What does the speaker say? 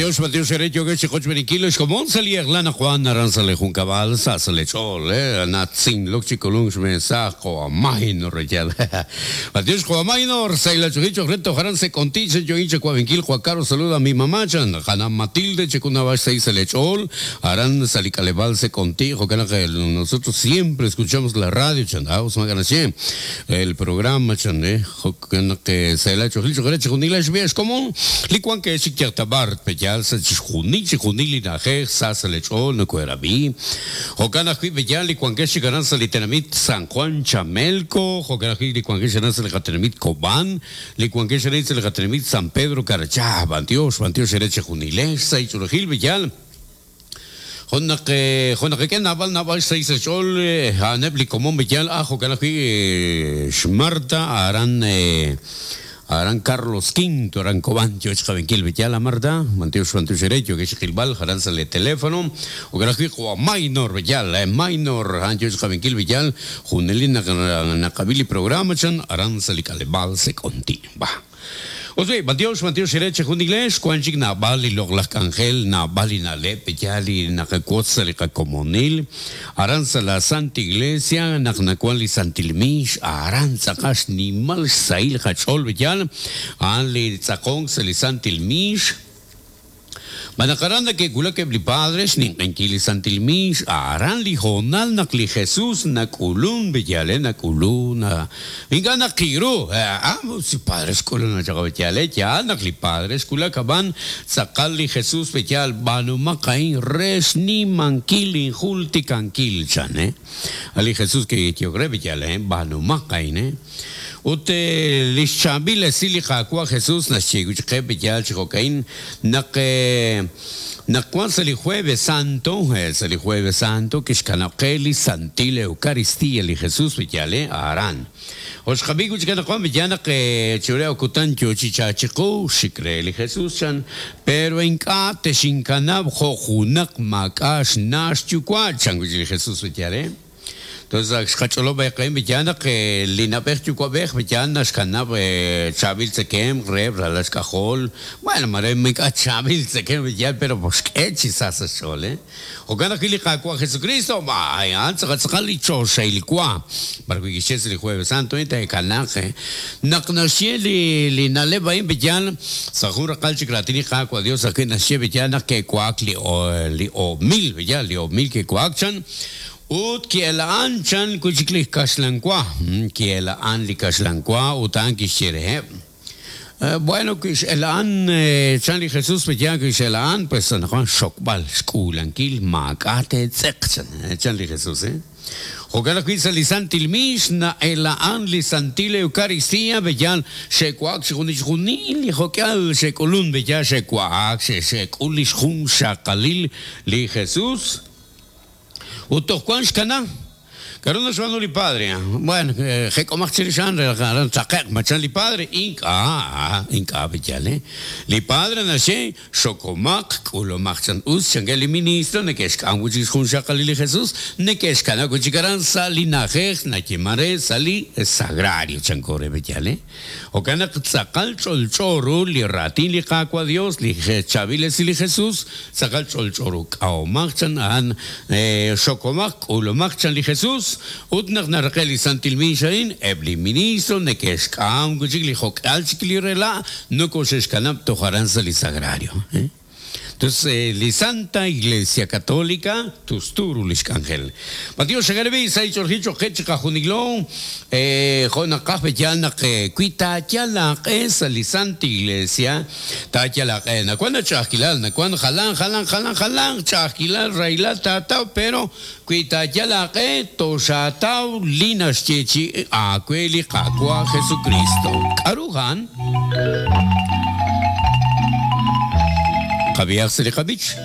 Matiox, matiox eere yookex chi qochb'eeninkil ex komon sa' li eq'la anaqwan aran sa' li junkab'al sa' sa' li ch'ool, natzinlok chi k'ulunk xmensaaj qawa' Maynor reyal. Matiox qawa' Maynor, sahil ach'oolil cho'q re toj aran se' K'onti' chan yookin chawab'inkil qawa' Carlos saluda a mi mamá chan qana' Matilde chek'unab'ax sahil sa' li ch'ool aran sa' li k'aleb'aal se' K'onti' jo'kan naq nosotros siempre escuchamos la radio chan us maak'a' naxye el programa chan Jo'kan naq sahil aach'oolil cho'q re chixjunil xb'een xkomon li wank chik yal ta b'ar pe'yaal sa' chixjunil chixjunil li na'ajej sa sa' li ch'ool nokohe'rab'i. Jo'kan ajwi' pe'yaal li wankex chik aran sa' li tenamit San Juan Chamelco, jo'kan ajwi' li wankex aran sa' li qatenamit Cobán, li wankex arin sa' li qatenamit San Pedro Carchá. B'antiox, b'antiox eere chejunilex sa' ich'oolejil pe'yaal. Jo' naq jo' naqak'e naab'al naab'al xsahil sa' xch'ool a'aneb' li komon b'eyal ah jo'kan ajwi' xMarta aran aran Carlos Quinto aran Cobán yo xqab'inkil b'eyal a Marta b'antiox b'antiox eere yookex xqilb'al aran sa' li teléfono jo'kan ajwi' qawa' Maynor b'eyal Maynor a'an yo xqab'inkil b'eyal junelik naq naqab'i li programa chan aran sa' li k'aleb'aal Sek'onti' va. Ut wi, b'antiox, b'antiox eere chejunilex, wank chik naab'al li loq'laj k'anjel, naab'al li na'leb' yaal li naqawotz sa' li qakomonil. Aran sa' la Santa Iglesia, naq nawank li Santil Miix, aran tz'aqal xnimal xsahil qach'ool yaal, a'an li tz'aqonk sa' li Santil Miix. Ma naq aran neke'wulak eb' li padre xninq'enkil li Santil Miix, aran li hoonal naq li Jesus nak'ulun, b'eyale nak'ulun, ink'a' naqiru, ah, si padre xk'ulun chaq b'eyale, yaal naq li padre xwulak, ab'an tz'aqal li Jesus b'eyal, b'aanumaq a'in re xnimankil injultikankil, chan, eh. A' li Jesus kiyehok re, b'eyale, b'aanumaq a'in, eh. Ut li xchaab'il esil li Qaawa' Jesus naxye wi' chik qe b'eyaal chi jo'ka'in, naq naq wan sa' li Jueves Santo, sa' li Jueves Santo kixkanab' qe li Santil Eucaristía li Jesus b'eyaal aran. Ut xqab'i wi' chik anaqwan b'eyaal naq chiru re kutan yo chi chalk chiqu, xik re li Jesus chan, pero ink'a' texinkanab' jo' junaq maak'a' xna' xyuwa', chan wi' chik li Jesus b'eyaal. Entonces ak xqach'olob' eeqen b'iyaan naq li na'b'ej yuwa'b'ej b'iyaan naxkanab' chaab'il tzekemq reheb' ralal xk'ajol, bueno mare ink'a' chaab'il tzekemq b'iyaan pero xk'e chi sa sa' xch'ool eh. Jo'kan ajwi' li Qaawa' Jesucristo a'an tz'aqal tz'aqal li choxahil wa, b'ar wi' kixye sa' li Jueves Santo eh teekanaaq eh. Naq naxye li li na'leb' a'in b'iyaan sa' jun raqal chik raatin li Qaawa' Dios ajwi' naxye b'iyaan naq ke'wa'ak li li oob' mil b'iyaan li oob' mil ke'wa'ak chan. Ut ki'ela'an chan wi' chik li kaxlan wa. Ki'ela'an li kaxlan wa ut a'an kixye reheb', Bueno, wi x'ela'an chan li Jesús, pe'yaal wi x'ela'an, pues anaqwan xxokb'al, xk'uulankil, maak'a' teetz'eq, chan, chan li Jesús. Jo'kan ajwi' sa' li Santil Miix na'ela'an li Santil Eucaristía, pe'yaal xe'wa'ak chi junil li jo'k'ihal xe'k'ulun, pe'yaal xe'wa'ak, xe'k'ul li xjunxaqalil li Jesús. Ut toj wank xkana. K'aru naxb'aanu li padre? Bueno, jek'omaq chirix a'an re naq aran tzaqe'q ma chan li padre? Ink'a', ink'a' b'iyal, eh. Li padre naxye, Xokomaq, k'ulomaq chan. Us, chankeb' li ministro, neke'xk'am wi' chik xjunxaqalil li Jesus, neke'xkanab' wi' chik aran sa' li na'ajej nayeeman re sa' li sagrario, chanko re b'iyal, eh. Jo'kan naq tz'aqal ch'olch'o ru li raatin li Qaawa' Dios, li chaab'il esil li Jesus, tz'aqal ch'olch'o ru. K'ahomaq chan a'an, xokomaq, k'ulomaq chan li Jesus, ut naq naraqe' li santil miix a'in, eb' li ministro neke'xk'am wi' chik li jo'k'ihal chik li rela' nokoxe'xkanab' toj aran sa' li sagrario. Tus li Santa Iglesia Católica tustu ru lix k'anjel. B'antiox xagarib'i sa' ich'olji choq' qe chiqajunilo, jo' naqaj b'eyal naq wi taayal aaq'e sa' li Santa Iglesia, taayal aaq'e. Nawan ach'a'ajkilal, nawan jalan jalan jalan jalanq ch'a'ajkilal, rahilal taataw, pero wi taayal aaq'e, toxaataw li naxyeechi'i aawe li Qaawa' Jesukristo. K'a'ru a'an? Qab'ihaq sa' li qab'ich.